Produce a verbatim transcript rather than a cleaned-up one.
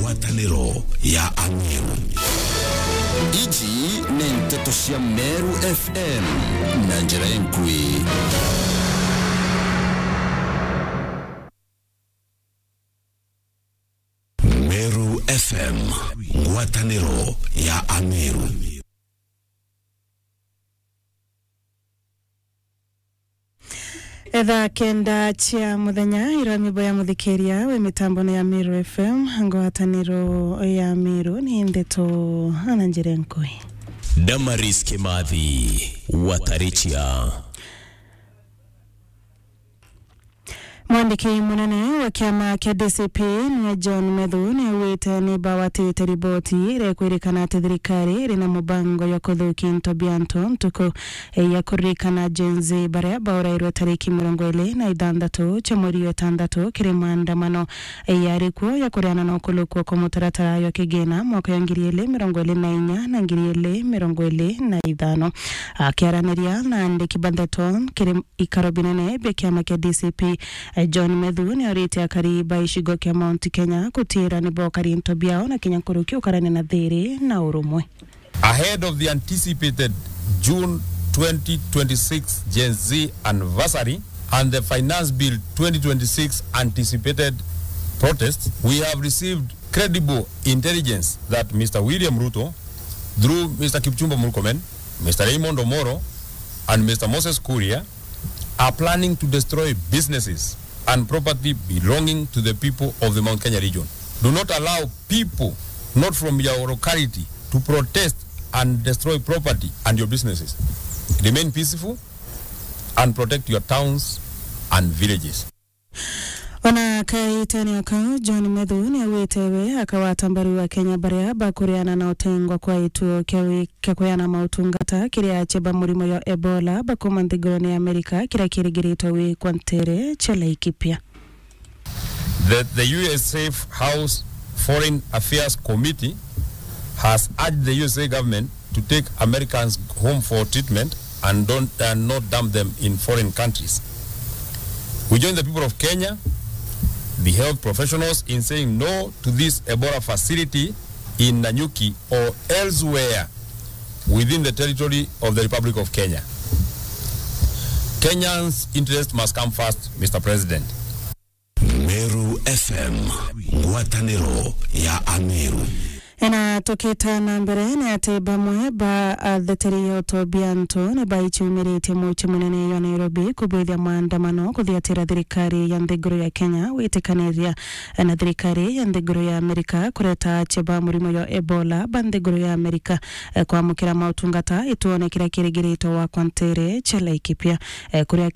Ngwataniro ya Ameru. Iji ni nteto cia Meru F M na njira inkui. Meru F M, ngwataniro ya Ameru. Etha kenda cia muthenya, irami boya muthikiria wi mitambone ya Meru F M, ngwataniro ya Meru ni ndeto ana njira nkui. Damaris Kimathi, Watarichia. Mwandiki munene wa kiama kia D C P niwe John Methu niaugite ni bawatite riboti iria ikwirikana ati thirikari iri na mubango jwa kuthukia into bia antu ntuku ya kuririkana Gen Z baria baurairwe tariki mirongo iri na ithanthatu cia mweri wa itantatu kiri maandamano yari kuo ya kuriana na ukulukua kwa mutaratara jwa kigina mwaka ya ngiri iri mirongo iri na inya na ngiri iri mirongo iri na ithano. Akiaraniria na andiki ba ndeto kiri ikaro binene bia kiama kia D C P, eh, John Methu nioritie akari ba icigo kia Mount Kenya gutiira ni bokari into biao na kinya nkuruki ukarania na thiri na urumwe. Ahead of the anticipated June twenty twenty-six Gen Z anniversary and the Finance Bill twenty twenty-six anticipated protest, we have received credible intelligence that Mister William Ruto, through Mister Kipchumba Murkomen, Mister Raymond Omoro, and Mister Moses Kuria, are planning to destroy businesses and property belonging to the people of the Mount Kenya region. Do not allow people not from your locality to protest and destroy property and your businesses. Remain peaceful and protect your towns and villages. Ona kaitene o kau, John Methu niaugite we akagwata mbaru Akenya baria bakuriana na utengwa kwa gituo kia wi-, kia kuheana mautungata kiria achia ba murimo ya Ebola bakuma nthigurune ya Amerika kiria kirigiritwe gwikwa ntere cia Laikipia. That the U S Safe House Foreign Affairs Committee has urged the U S A government to take Americans home for treatment and don't, and not dump them in foreign countries. We join the people of Kenya, the health professionals, in saying no to this Ebola facility in Nanyuki or elsewhere within the territory of the Republic of Kenya. Kenyans' interest must come first, Mister President. Meru F M, ngwataniro ya Ameru. Ena tukita na mbere ni ati bamwe ba atheteri ya utobia antu ni baichumiritie muci munene ya Nairobi kubwithia maandamano kuthiatira thirikari ya nthiguru ya Kenya witikaniria na thirikari ya nthiguru ya Amerika kureta achia ba murimo ya Ebola ba nthiguru ya Amerika, eh, kwamukira mautungata ituone kiria kirigiritwe gwikwa ntere cia Laikipia, eh, kuria Kenya